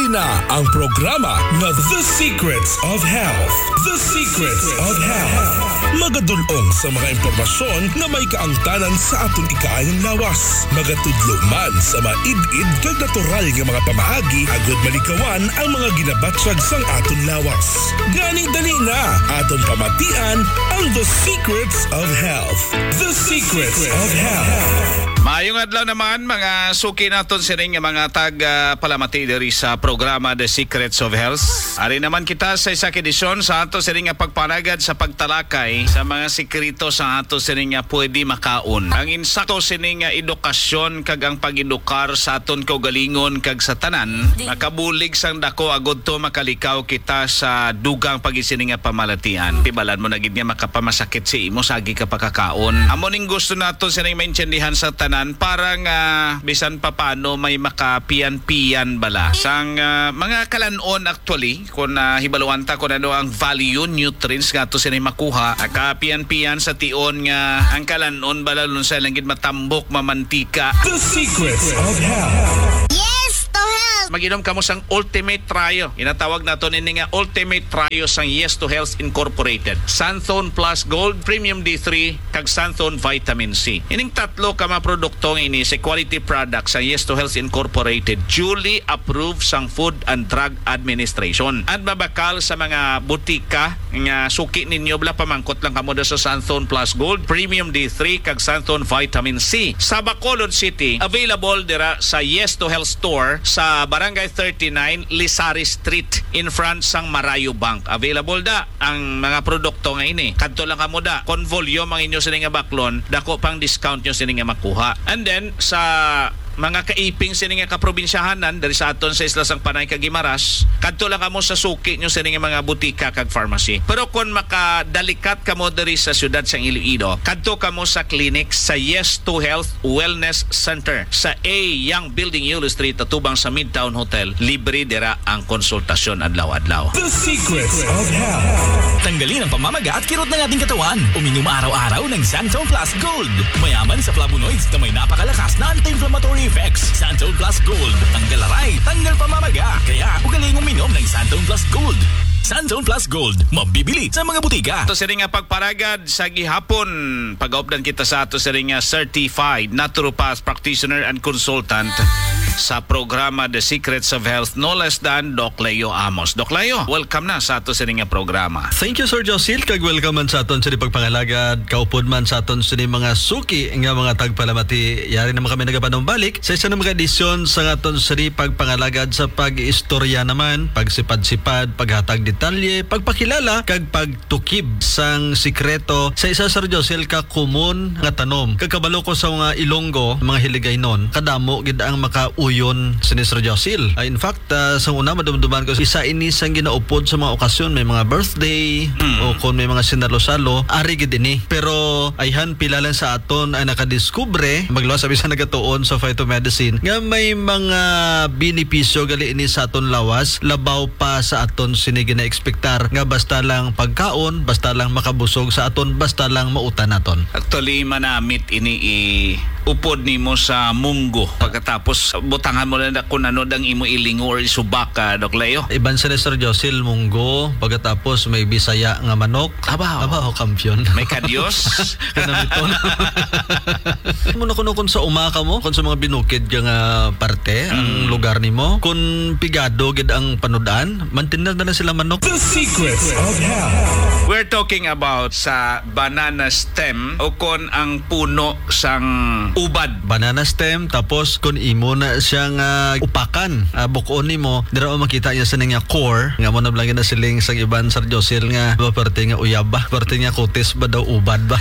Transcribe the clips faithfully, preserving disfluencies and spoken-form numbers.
Na ang programa nga The Secrets of Health. The Secrets of Health. Magadul-ong sa mga impormasyon nga may kaangtanan sa aton ikaayong lawas. Magatudlo man sa maid-id kag natural nga mga pamaagi agud malikawan ang mga ginabatyag sang aton lawas. Gani dali na, aton pamatian ang The Secrets of Health. The Secrets of Health. Maayong adlaw naman, mga suki naton sining nga mga tag, ah, palamati diri sa programa The Secrets of Health. Ari naman kita sa isa ka edisyon sa ato sining nga pagpanagad sa pagtalakay sa mga sikreto sa ato sining nga pwede makaon. Ang insakto sining nga edukasyon kag ang pag-edukar sa aton kaugalingon kag sa tanan makabulig sang dako agud to makalikaw kita sa dugang pag-isini nga pamalatian. Tibalan mo na gid nga makapamasakit si imo sa agi ka pakakaon. Amo ning gusto nato sining maintindihan sa tanan para nga bisan pa paano may makapian-pian bala sang, ah, mga kalan-on actually, kung, ah, hibaluan ta kung ano ang value, nutrients nga ato sining makuha, makapian-pian sa tion nga ang kalan-on bala lunsay lang gid matambok, mamantika. The Secrets of Health. Yes to health. Mag-inom kamo sang Ultimate Trio. Ginatawag nato nini nga Ultimate Trio sang Yes to Health Incorporated. Xanthone Plus Gold, Premium D three, kag Xanthone Vitamin C. Ining tatlo ka mga produkto nga ini sa quality products sang Yes to Health Incorporated, duly approved sang Food and Drug Administration. At mabakal sa mga butika nga suki ninyo, bala pamangkot lang kamo da sa Xanthone Plus Gold, Premium D three, kag Xanthone Vitamin C. Sa Bacolod City, available dira sa Yes to Health Store sa Barangay thirty-nine, Lisari Street, in front sang Marayo Bank. Available da ang mga produkto nga ini. Kadto lang kamo da. Kon volume ang inyo sini nga baklon, dako pang discount nyo sini nga makuha. And then, sa mga kaiping sini nga kaprobinsyahanan, diri sa aton sa Isla sang Panay kag Guimaras, kadto lang kamo sa suki nyo sini nga mga butika kag pharmacy. Pero kon makadalikat kamo diri sa siyudad sang Iloilo, kadto kamo sa clinic sa Yes to Health Wellness Center sa A Young Building, Yulo Street, atubang sa Midtown Hotel. Libre dira ang konsultasyon adlaw-adlaw. The Secrets of Health. Tanggalin ang pamamaga at kirot ng ating katawan. Uminom araw-araw ng Xanthone Plus Gold. Mayaman sa flavonoids na may napakalakas na anti-inflammatory effects. Xanthone Plus Gold. Tanggal aray, tanggal pamamaga. Kaya, ugaling uminom ng Xanthone Plus Gold. Xanthone Plus Gold. Mabibili sa mga butika. Ato sini nga pagparagad sa gihapon, pagaupdan kita sa ato sini nga certified naturopath practitioner and consultant sa programa The Secrets of Health, no less than Doc Leo Amos. Doc Leo, welcome na sa ato sini nga programa. Thank you, Sir Josil, kag welcome man sa aton sini pagpangalagad, kaupod man sa aton sini mga suki nga mga tagpalamati. Yari naman kami nagapanumbalik sa isa na mga edisyon sa aton sini pagpangalagad sa pag-istorya naman, pagsipad-sipad, paghatag detalye, pagpakilala, kag pagtukib sang sikreto sa isa, Sir Josil, ka komon nga tanom. Kag kabalo ko sa mga Ilonggo, mga Hiligaynon, kadamo gid ang makauyon sini, Sir Josil. Ah, in fact, ah, sang una, madumduman ko, isa ini sang ginaupod sa mga okasyon, may mga birthday, Mm. o kung may mga sinalo-salo, ari gid ini. Pero ayhan, pila lang sa aton ang nakadiskubre, magluwas sa bisan nagatuon sa phytomedicine, nga may mga benepisyo gali ini sa aton lawas, labaw pa sa aton sini gina-expectar nga basta lang pagkaon, basta lang makabusog sa aton, basta lang mautan naton. Actually, manamit ini i-upod nimo sa munggo. Pagkatapos, butangan mo lang na kung ano dang imo ilingo or isubak, ah, Doc Leo. Iban sila, Sir Josil, munggo, pagkatapos may Bisaya nga manok. Abaw. Abaw, kampiyon. May kadyos. Kanamiton. Mo na kuno kung sa uma ka mo, kung sa mga binukid ka nga parte, ang Mm. lugar nimo, kung pigado gid ang panudan, mantinda na lang sila manok. The Secrets of Health. We're talking about sa banana stem o kon ang puno sang ubad. Banana stem, tapos kung imo na siyang, ah, upakan, ah, bukon nimo, dira mo makita niya sa nga core, nga mo na lang ginasiling sa iban, Sir Josil, nga ba, parte nga uyab ba, parte nga kutis ba daw, ubad ba?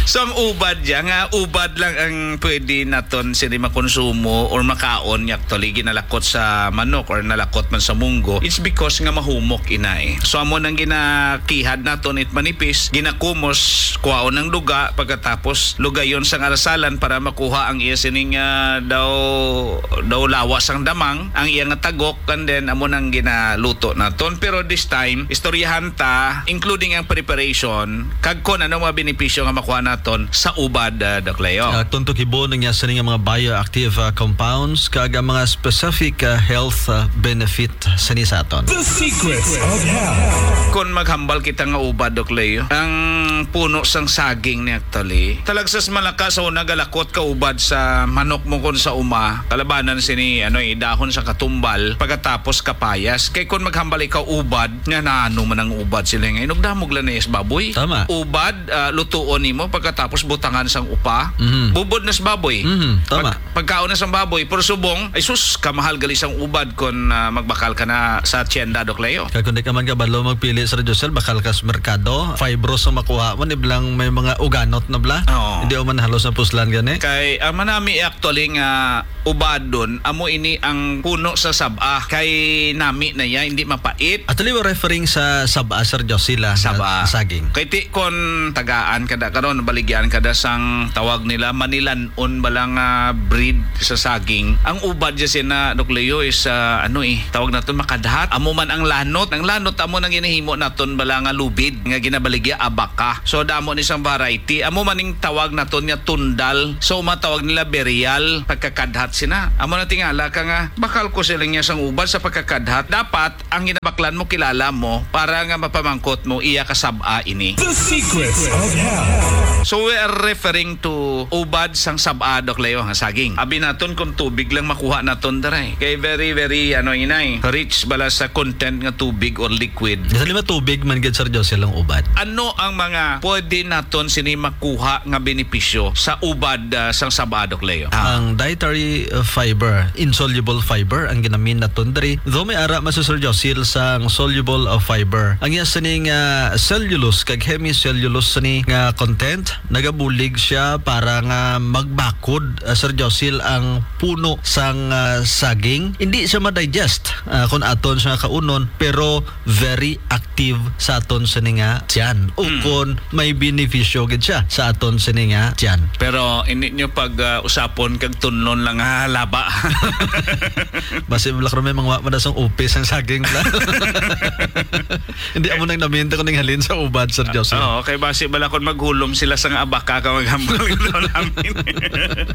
So, ang ubad diya nga, ubad lang ang pwede naton sini makonsumo or makaon nga actually ginalakot sa manok or nalakot man sa munggo, it's because nga mahumok ina eh. So, amo nang ginakihad naton it manipis, ginakumos, kuhaon ang duga, pagkatapos lugayon sang arasalan para makuha ang iya sining, ah, daw, daw lawas ang damang, ang iya nga tagok, and then amo nang ginaluto naton. Pero this time, istoryahan ta, including ang preparation, kag kon ano mga benepisyo nga makuha naton sa ubad, ah, Doc Leo. Ah, tuntok ibon ang iya sini nga mga bioactive uh, compounds, kag ang mga specific, uh, health, uh, benefit sini sa aton. The Secrets of Health. Kung maghambal kita nga ubad, Doc Leo, ang puno sang saging ni actually, talagsas malakas sa una galakot ka ubad sa manok mo kon sa uma, kalabanan sini, ano, eh, dahon sa katumbal, pagkatapos kapayas. Kay kung maghambal ikaw ubad, nga naano man ang ubad sila nga inugdamog lang na yes baboy. Tama. Ubad, ah, lutuon nimo, pagkatapos butangan sang upa, Mhm. bubod nas baboy. Mhm, tama. Pag-, pagkaon na sang baboy, pero subong, ay sus, kamahal gali sang ubad kon, ah, magbakal ka na sa tienda, Doc Leo. Kag kung di ka man kabalo magpili, Sir Josel, bakal ka sa merkado, fibros ang makuha mo, ni blang may mga uganot na bla. Oo. Hindi man halos ang puslan gani. Kay, ang manami actually nga ubadon, amo ini ang puno sa saba. Kay nami na ya, hindi mapait. Actually, we're referring sa saba, Sir Josila, nga Saba. saging. Kay ti kon tagaan kada karon, baligyan kada sang tawag nila Manilan-on bala nga breed sa saging. Ang ubad dya sina, Doc Leo, is, ah, ano eh, tawag naton makadhat. Amo man ang lanot. Ang lanot amo nang ginahimo naton bala nga lubid nga ginabaligya abaka. So damo ni sang variety. Amo man ning tawag naton nga tundal. So matawag nila berial, pagkakadhat sina. Amo na tingala ka nga bakal ko siling niya sang ubad sa pagkakadhat. Dapat ang ginabaklan mo, kilala mo, para nga mapamangkot mo, iya kasab-a ini. The Secrets of Health. So, we are referring to ubad sang sab-a, Doc Leo, nga saging. Abi naton kung tubig lang makuha naton dere. Kay very, very, ano, inay, rich bala sa content nga tubig or liquid. Sa lima tubig man gid, Sir Josel, ang ubad. Ano ang mga pwede naton sini makuha nga benepisyo sa ubad, ah, sang sab-a, Doc Leo? Ah. Ang dietary, uh, fiber, insoluble fiber, ang ginamin naton diri. Though may ara man si Sir Josil sang soluble, uh, fiber, ang iya sini nga cellulose kag hemicellulose sini nga content, nagabulig siya para nga magbakod, uh, Sir Josil, ang puno sang, uh, saging. Hindi siya ma-digest, uh, kung aton siya kaunon, pero very active sa aton sini nga tiyan. O Mm. kung may benepisyo gid siya sa aton sini nga tiyan. Pero hindi nyo pag, ah, usapon kag tunlon lang, ha, laba. Basi wala ka may mga wa-, madasong upis ang saging pala. Hindi amo nang naminta ko ning halin sa ubad, Sir Joseph. Oo, kay basi bala kon maghulom sila sa nga abaka ka maghambal ito namin.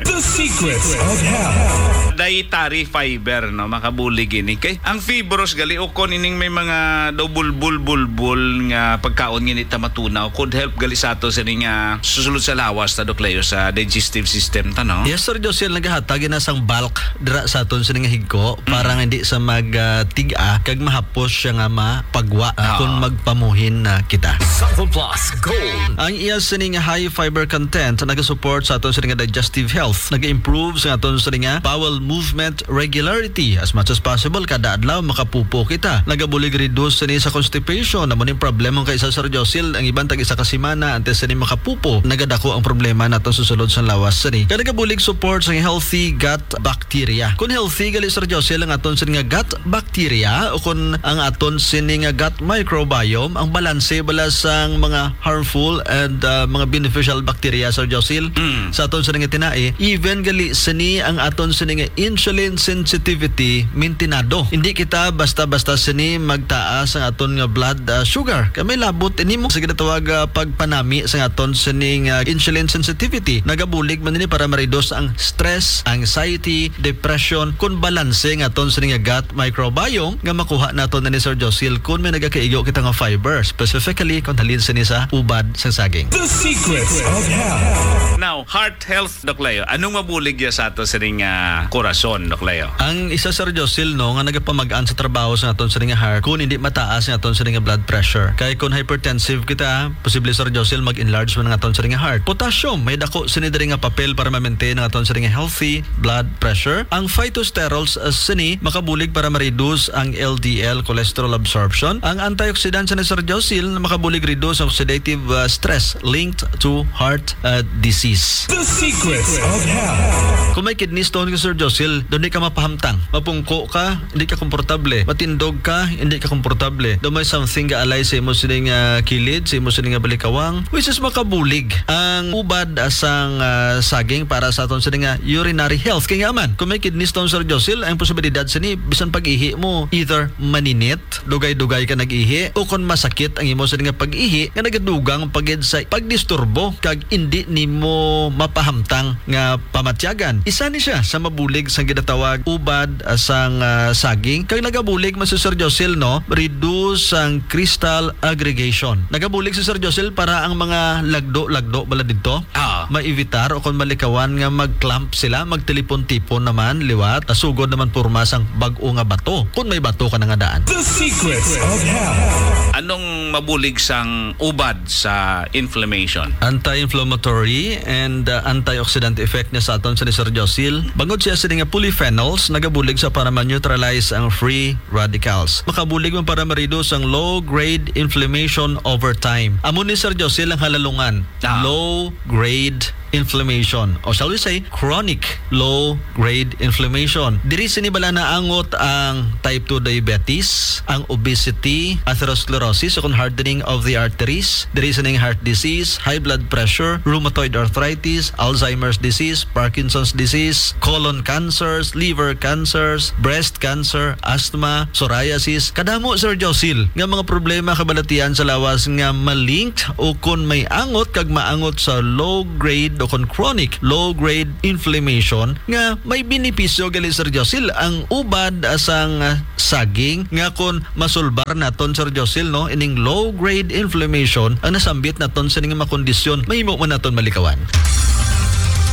The Secrets of Health. Dietary fiber, no, makabulig ini. Kay ang fibros gali ukon ining may mga daw bulbul-bulbul nga pagkaon nga hindi ta matunaw could help gali sa ato sini nga susulod sa lawas ta, Doc Leo, sa digestive system ta, no? Yes, Sir Josel, nagahatag na sang bulk dira sa aton sini nga higko para Mm. nga hindi sa mag, ah, tig-a kag mahapos siya nga mapagwa, ah, Oo. kung magpamuhin na kita. Sample Plus Gold. Ang iya sini nga high fiber content nagasupport sa aton sini nga digestive health, nag-improve sa aton sini nga bowel movement regularity. As much as possible, kada adlaw makapupo kita. Nagabulig reduce sini sa constipation. Amo ning problema kay sa Sir Josil, ang iban tag isa ka semana antes sini makapupo. Nagadako ang problema naton sa sulod sa lawas sini. Kaya nagabulig support sa healthy gut bacteria. Kung healthy gali, Sir Josil, ang aton sini nga gut bacteria o kung ang aton sini nga gut microbiome, ang balanse bala sang mga harmful and, ah, mga beneficial bacteria, Sir Josil, Mm. sa aton sini nga tinai, even gali sini ang aton sini nga insulin sensitivity mintinado. Hindi kita basta-basta sini magtaas ang aton nga blood, ah, sugar. Kay may labot ini mo sa ginatawag, ah, pagpanami sa aton sini nga insulin sensitivity. Nagabulig man ini para ma-reduce ang stress, anxiety, depression, kun balanse nga aton sini nga gut microbiome nga makuha naton ni Sir Josil kun may nagakaigo kita nga fiber, specifically kung halin sini sa ubad sa saging. The Secrets of Health. Now, heart health, Doc Leo. Anong mabulig ya sa ato sining, ah, korason, Doc Leo? Ang isa, Sir Josil, no, nga nagapamag-an sa trabaho sa aton sining heart, kung hindi mataas ang aton sining blood pressure. Kay kung hypertensive kita, posible, Sir Josil, mag-enlarge man ang aton sining heart. Potassium, may dako sini diri nga papel para ma-maintain ang aton sining healthy blood pressure. Ang phytosterols, uh, sini makabulig para ma-reduce ang L D L cholesterol absorption. Ang antioxidant sa Sir Josil makabulig reduce ang oxidative, uh, stress linked to heart, uh, disease. The Secrets of Health. Kung may kidney stone ka, Sir Josil, doon di ka mapahamtang. Mapungko ka, hindi ka komportable. Matindog ka, hindi ka komportable. Doon may something gaalay sa imo sining, uh, kilid, sa imo sining, uh, balikawang, which is makabulig ang ubad, uh, sang, uh, saging para sa aton sining, uh, urinary health. Kay nga man, kung may kidney stone, Sir Josil, ang posibilidad sini, bisan pag-ihi mo, either maninit, dugay-dugay ka nag-ihi, o kung masakit ang imo sini nga pag-ihi, nga nagadugang pa gid sa pagdisturbo, kag indi nimo mapahamtang nga pamatyagan. Isa ni siya sa mabulig sang ginatawag ubad, ah, sang, ah, saging, kag nagabulig man si Sir Josil, no, reduce sang crystal aggregation. Nagabulig si Sir Josil para ang mga lagdo-lagdo bala didto. Ah. Maivitar o kon malikawan nga mag-clamp sila, magtilipon-tipon naman liwat, ah, sugod naman porma sang bag-o nga bato, kon may bato ka na nga daan. The Secrets of Health. Anong mabulig sang ubad sa inflammation? Anti-inflammatory and, uh, antioxidant effect niya sa aton sa ni Sir Josil. Bangod siya sini nga polyphenols, nagabulig sa para ma-neutralize ang free radicals. Makabulig man para ma-reduce ang low-grade inflammation over time. Amo ni Sir Josil ang halalungan. Ah. Low-grade inflammation, o shall we say, chronic low-grade inflammation. Diri sini bala naangot ang type two diabetes, ang obesity, atherosclerosis, o kon hardening of the arteries. Diri sini ang heart disease, high blood pressure, rheumatoid arthritis, Alzheimer's disease, Parkinson's disease, colon cancers, liver cancers, breast cancer, asthma, psoriasis. Kadamo, Sir Josil, nga mga problema kabalatian sa lawas nga malinked o kon may angot kag maangot sa low grade o kon chronic low grade inflammation nga may benepisyo gali, Sir Josil, ang ubad sang saging nga kon masulbar naton, Sir Josil, no, ining low grade inflammation ang nasambit naton sini nga mga kondisyon, mahimo man naton malikawan.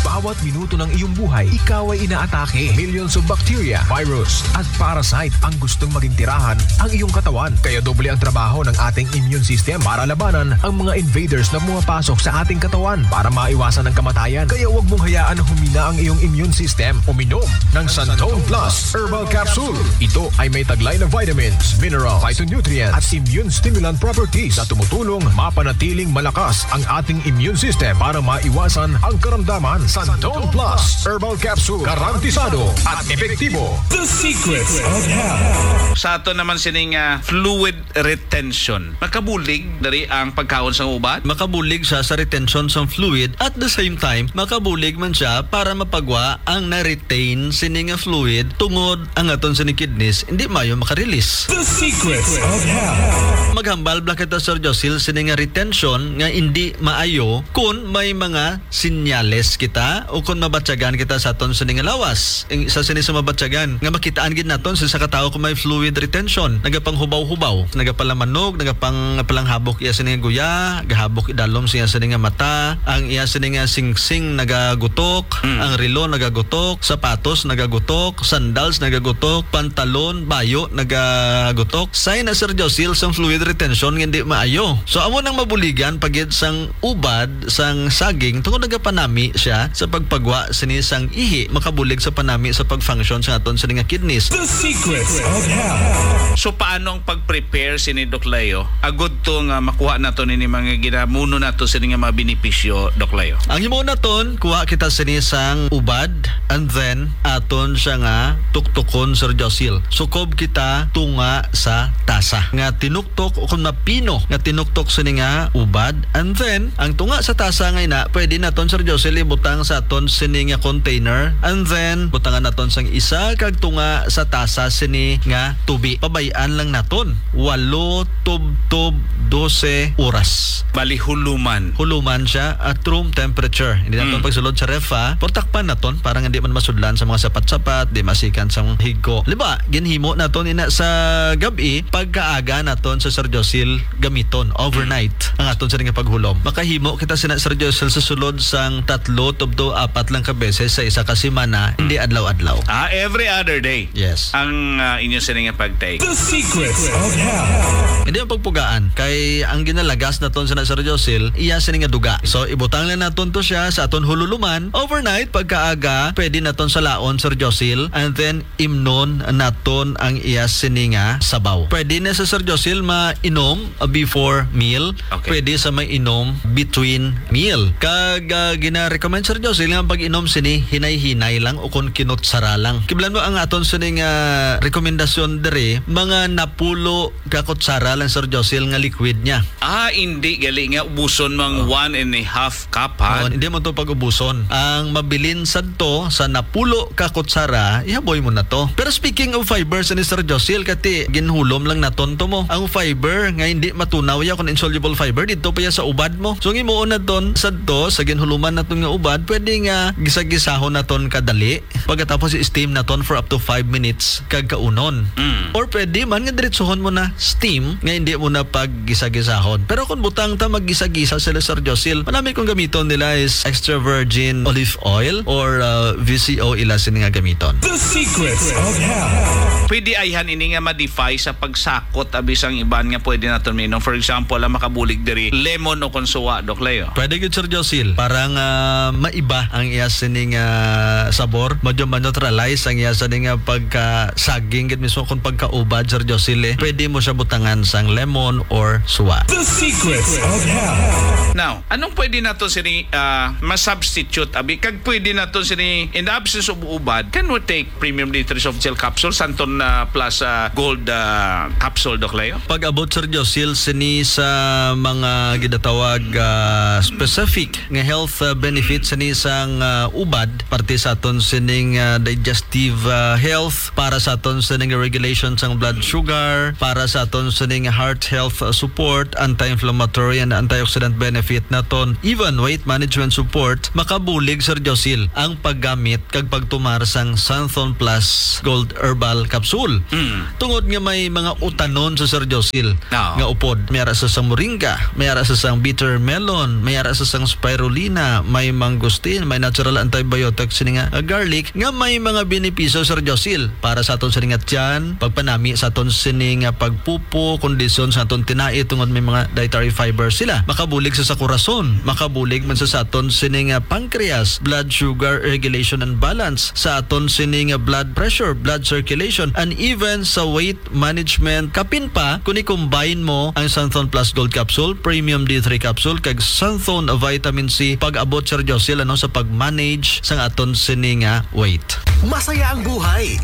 Bawat minuto ng iyong buhay, ikaw ay inaatake. Millions of bacteria, virus, at parasite ang gustong maging tirahan ang iyong katawan. Kaya doble ang trabaho ng ating immune system para labanan ang mga invaders na pumapasok sa ating katawan para maiwasan ang kamatayan. Kaya huwag mong hayaan na humina ang iyong immune system. Uminom ng Santon Plus Herbal Capsule. Ito ay may taglay na vitamins, mineral, phytonutrient at immune stimulant properties na tumutulong mapanatiling malakas ang ating immune system para maiwasan ang karamdaman. Santon Plus Herbal Capsule, garantisado at epektibo. The Secrets of Health. Sa ato naman sining, ah, fluid retention, makabulig diri ang pagkaon sang ubad? Makabulig siya sa retention sang fluid. At the same time, makabulig man siya para mapagwa ang na-retain sini nga fluid tungod ang aton sini kidneys hindi maayo makarelease. The Secrets of Health. Maghambal bala kita, Sir Josil, sini nga retention nga indi maayo kon may mga sinyales kita o kon mabatyagan kita sa aton sini nga lawas. Ang isa sini sa mabatyagan nga makitaan gid naton sa isa ka tawo kung may fluid retention, nagapanghubaw-hubaw, nagapalamanog, nagapang-, palanghabok iya sini nga guya, gahabok idalom siya sini nga mata, ang iya sini nga singsing nagagutok, Mm. ang relo nagagutok, sapatos nagagutok, sandals nagagutok, pantalon, bayo nagagutok. Sign na, Sir Josil, sang fluid retention nga hindi maayo. So, amo nang mabuligan pa gid sang ubad sang saging tungod nagapanami siya sa pagpagwa sini sang ihi, makabulig sa panami sa pag-function sa aton sini nga kidneys. The Secrets of Health. So, paano ang pag-prepare sini, Doc Leo? Agud to nga makuha nato nini mga ginamuno nato sini nga mga benepisyo, Doc Leo. Ang himo naton, kuha kita sini sang ubad, and then aton siya nga tuktukon, Sir Josil. Sukob kita tunga sa tasa nga tinuktok o kung mapino nga tinuktok sini nga ubad, and then ang tunga sa tasa nga ina pwede naton, Sir Josil, ibutang sa aton sini nga container, and then butangan naton sang isa kag tunga sa tasa sini nga tubi. Pabay-an lang naton walo tubtob dose oras. Bali, huluman. Huluman siya at room temperature. Hindi naton Mm. pagsulod sa ref, ha? Pero takpan naton para nga di man masudlan sa mga sapat-sapat, di masikan sa mga higko. Halimbawa, ginhimo naton ina sa gab-i, pagkaaga naton sa Sir Josil gamiton overnight ang aton sini nga paghulom. Makahimo kita sina, Sir Josil, sa sulod sang tatlo tubtob apat lang ka beses sa isa ka semana, hindi adlaw-adlaw. Ah, every other day. Yes. Ang, ah, inyo sini nga pag-take. The Secrets of Health. Hindi ang pagpugaan kay ang ginalagas naton sa Sir Josil, iya sini nga duga. So, ibutang lang naton to siya sa aton hululuman overnight. Pagkaaga, pwede naton salaon, Sir Josil, and then imnon naton ang iya sini nga sabaw. Pwede na sa Sir Josil mainom, ah, before meal. Okay. Pwede sa mainom between meal. Kag, ah, gina-recommend, Sir Sila nga pag-inom sini, hinay-hinay lang o kon kinutsara lang. Kiblan mo ang aton sining, ah, rekomendasyon diri, mga napulo ka kutsara lang, Sir Josil, nga liquid niya. Ah, hindi gali nga ubuson mang Oh. one and a half cup, ha? Oh, hindi mo to pag-ubuson. Ang mabilin sadto sa napulo ka kutsara, ihaboy mo na to. Pero speaking of fiber, sini, Sir Josil, kati ginhulom lang naton to mo. Ang fiber nga hindi matunaw ya kung insoluble fiber, dito pa ya sa ubad mo. So, ang imuon naton sadto sa ginhuluman naton nga ubad, pwede nga gisa-gisahon naton kadali. Pagkatapos, i-steam naton for up to five minutes kag kaunon. Mm. Or pwede man nga diretsohon mo na steam nga hindi mo na paggisa-gisahon. Pero kung butang ta maggisa-gisa sila, Sir Josil, manami kung gamiton nila is extra virgin olive oil or, uh, V C O ila sini nga gamiton. The Secrets of Health. Pwede ayhan ini nga ma-defy sa pagsakot abi sang iban nga pwede naton minom. For example, ang makabulig diri, lemon o kon suwa, Doc Leo. Pwede gid, Sir Josil. Para nga maiba ang iya sining, ah, sabor, medyo ma-neutralize ang iya sining, ah, pagka-saging gid mismo kung pagkaubad, Sir Josil, eh. Pwede mo siya butangan sang lemon or suwa. The Secrets of Health. Now, anong pwede nato sini, ah, ma-substitute, abi? Kag pwede nato sini, in the absence of ubad, can we take Premium D three Soft Gel Capsule, Santon, ah, Plus, ah, Gold, ah, Capsule, Doc Leo? Pag-abot, Sir Josil, sini sa mga ginatawag, ah, specific nga health, ah, benefits sini sang, ah, ubad, parte sa aton sining, ah, digestive, ah, health, para sa aton sining regulation sang blood sugar, para sa aton sining heart health, ah, support, anti-inflammatory and antioxidant benefit naton, even weight management support, makabulig, Sir Josil, ang paggamit kag pagtumar sang Santhon Plus Gold Herbal Capsule. Mm. Tungod nga may mga utanon sa, Sir Josil, Oo. nga upod. May ara sa sang moringa, may ara sa sang bitter melon, may ara sa sang spirulina, may mangosteen, may natural antibiotic sini nga, ah, garlic, nga may mga benepisyo, Sir Josil, para sa aton sini nga tiyan, pagpanami sa aton sini nga pagpupo, kondisyon sa aton tinai tungod may mga dietary fiber sila. Makabulig sa, sa korason, makabulig man sa, sa aton sini nga pancreas, blood sugar regulation and balance, sa aton sini nga blood pressure, blood circulation, and even sa weight management. Kapin pa, kung i-combine mo ang Santhon Plus Gold Capsule, Premium D three Capsule, kag Santhon Vitamin C, pag-abot, Sir Josil, ano, sa pag-manage sang aton sini nga weight. Masaya ang buhay.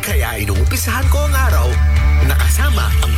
Kaya inumpisahan ko ang araw, nakasama ang